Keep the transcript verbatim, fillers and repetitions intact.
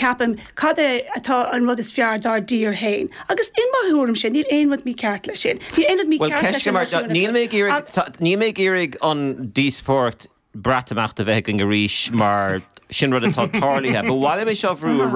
Ceapaim cad é atá an rud is fearr dár dtír féin. Agus in mo thuairimse níl aon rud mícheart leis sin. Níl aon rud mícheart leis sin. Níl mé níl mé ag iarraidh an díospóireacht Breatimeachta a bheith againn arís mar sin rud atá tarlaithe, Ba mhaith liom é seo a bhrú ar